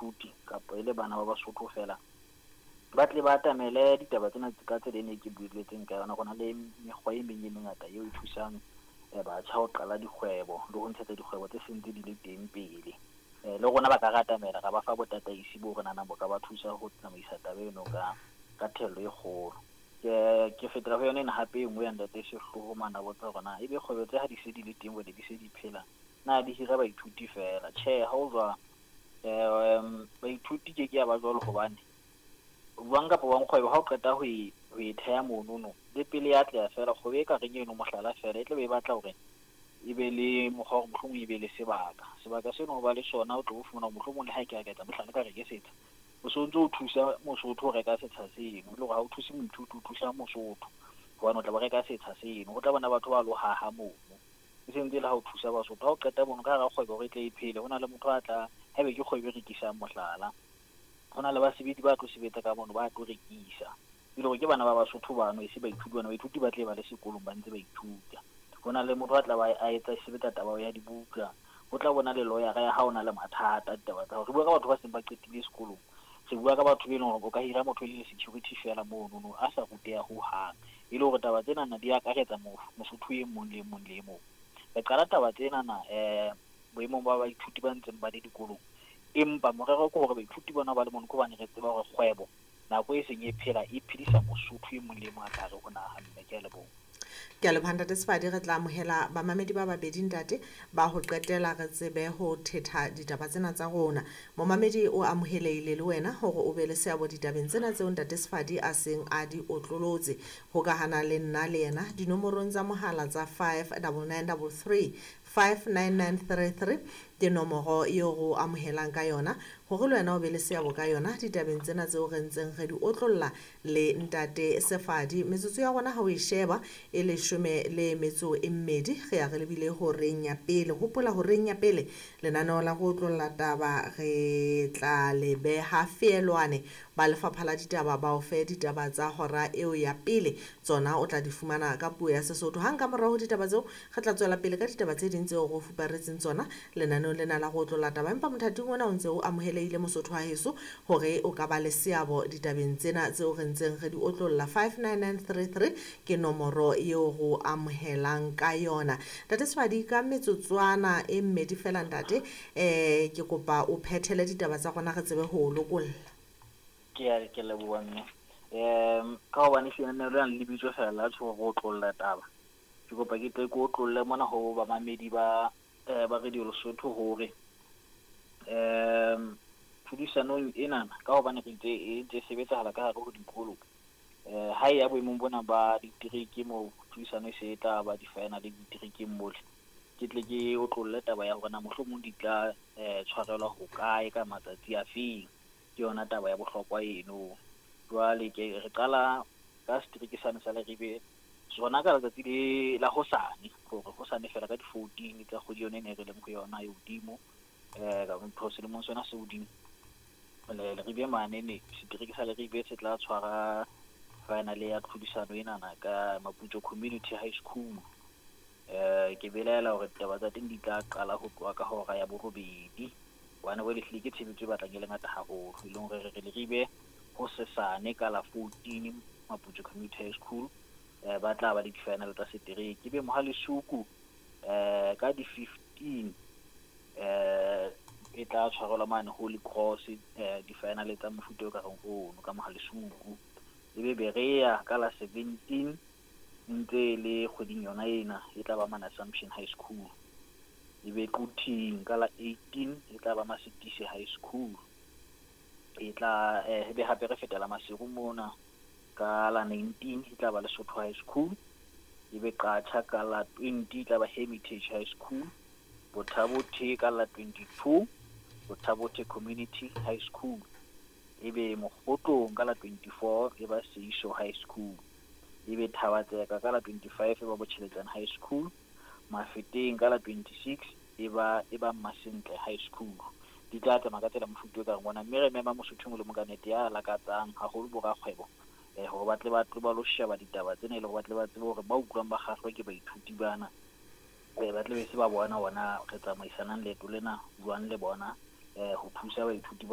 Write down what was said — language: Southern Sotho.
Baithuti kapa e le bana ba Basotho feela, ba tle ba atamele ditaba tsena ka tsela e ne ke buelletseng ka yona. Go na le mekgwa e meng e mengata eo e thusang batjha ho qala dikgwebo le ho ntshetsa dikgwebo tse seng tse di le teng pele. Le rona ba ka re atamela, ra ba fa botataisi bo re nahanang bo ka ba thusa ho tsamaisa taba eno ka thello e kgolo. Ke fetela ho yona ena hape e nngwe ya ntate Sehloho mane a botsa hore na ebe kgwebo tse ha di se di le teng, jwale di se di phela, na di hira baithuti feela? Tjhe, ha ho jwalo. Baithuti ke ke ya ba jwalo, hobane jwang kapa jwang kgwebo ha o qeta ho e theha monono le pele ya atleha feela, kgwebo e ka reng eno, mohlala feela, e tlabe e batla hore e be le mokgwa hore mohlomong e be le sebaka seno ho ba le sona, o tlo o fumana hore mohlomong le ha e ke ka etsa mohlala ka re ke setsha, o so ntso o thusa Mosotho ho reka setsha seno, e le hore ha o thuse moithuti, o thusa Mosotho, hobane o tla ba reka setsha seno, ho tla bona batho ba lo haha mono, e sentse le ha o thusa Basotho. Ha o qeta mono ka hara kgwebo hore e tle e phele, ho na le motho a tla, haebe ke kgwebo e rekisang, mohlala, ho na le basebetsi ba tlo sebetsa ka mono, ba tlo rekisa, e le hore ke bana ba Basotho bano, e se baithuti bana. Baithuti ba tle ba le sekolong ba ntse ba ithuta. Ho na le motho a tla ba a etsa sebetsa taba ya dibuka, ho tla bona le lawyer ya ha o na le mathata, ditaba tsa hore re bua ka batho ba seng ba qetile sekolong, re bua ka batho be leng hore o ka hira motho e le security fela monono a sa ruteha hohang, e le hore taba tsenana di akaretsa Mosotho e mong le e mong le e mong. Re qala taba tsenana boemong ba baithuti ba ntseng ba le dikolong, empa morero ke hore baithuti bona ba le mono ke hobane re tseba hore kgwebo nako e seng e phela e phedisa Mosotho e mong le e mong a ka hare ho naha. Mme ke a leboha. Ke a leboha, ntate Sefadi. Re tla amohela bamamedi ba babedi, ntate, ba ho qetela, re tsebe ho thetha ditaba tsena tsa rona. Momamedi, o amohelehile le wena hore o be le seabo ditabeng tsena tseo ntate Sefadi a seng a di otlolotse. Hokahana le nna le yena dinomorong tsa mohala tsa 59933, 59933 ke nomoro eo re o amohelang ka yona hore le wena o be le seabo ka yona ditabeng tsena tseo re ntseng re di otlolla le ntate Sefadi. Metsotso ya rona ha o e sheba e 12, re ya re lebile horeng ya pele. Hopola, horeng ya pele lenaneo la go otlolla taba re tla le beha feelwane. Ba lefapha la ditaba ba o fe ditaba tsa hora eo ya pele, tsona o tla di fumana ka puo ya Sesotho. Hang ka morao ho ditaba tseo, re tla tswela pele ka ditaba tse ding tseo re o fuparetseng tsona lenaneong lena la go otlolla taba. Empa mothating ona o ntse o amohelehile, Mosotho wa heso, hore o ka ba le seabo ditabeng tsena tseo re ntseng re di otlolla. 59933 ke nomoro eo re o amohelang ka yona. Ntate Sefadi, ka metsotswana e mmedi fela, ntate, ke kopa o phethele ditaba tsa rona, re tsebe ho o lokolla. Ke leboha, mme. Ka hobane ehlile le na le lebitso fela la tjho go otlolla taba, ke kopa ke tle ke otlolle mona ho bamamedi ba Radio Lesotho hore tlhodisanong enana, ka hobane re itse e ntse e sebetsahala ka hare ho dikolo, ha e ya boemong bona ba ditereke moo tlhodisano e se e tla ba di-final diterekeng mole, ke tle ke otlolle taba ya hore na mohlomong di tla tshwarelwa hokae, ka matsatsi a feng. Ke yona taba ya bohlokwa eno. Jwale ke re qala ka setereke sane sa Leribe, sona ka letsatsi le la hosane, hore hosane fela ka di-14 tsa kgwedi yona e ne re leng ho yona e hodimo, ka selemong sona se hodimo. Leribe mane ne setereke sa Leribe se tla tshwara final ya tlhodisano enana ka Maputso Community High School. Ke belaela hore ditaba tsa teng di tla qala ho tloha ka hora ya 8, hobane jwale ehlile ke tshebetso e batlang e le ngata haholo, e leng hore re re Leribe hosesane ka la 14, Maputso Community High School, ba tla ba le di-final tsa setereke. Ebe Mohalesuku ka di-15 e tla tshwarelwa mane Holy Cross, di-final tsa mofuta o ka reng ono ka Mohalesuku. Ebe Berea ka la 17, ntse e le kgweding yona ena, e tla ba mane Assumption High School. Ebe Quthing ka la 18, e tla ba Masetise High School. E tla ebe hape re fetela Maseru mona ka la 19, e tla ba Lesotho High School. Ebe Qacha ka la 20, e tla ba Hermitage High School. Botha-Bothe ka la 22, Botha-Bothe Community High School. Ebe Mokgotlong ka la 24, e ba Seiso High School. Ebe Thaba-Tseka ka la 25, e ba Botjheletjana High School. Mafeteng ka la 26, e ba Masentle High School. Di tla tsamaya ka tsela mofuta o ka reng ona, mme re mema Mosotho e mong le mong ka nete ya lakatsang, haholo bo rakgwebo, hore ba tle ba tlo ba lo sheba ditaba tsena, e le hore ba tle ba tsebe hore ba utlwang ba kgahlwa ke baithuti bana, ba tle be se ba bona ona re tsamaisanang leeto lena jwang le bona, ho thusa baithuti bana.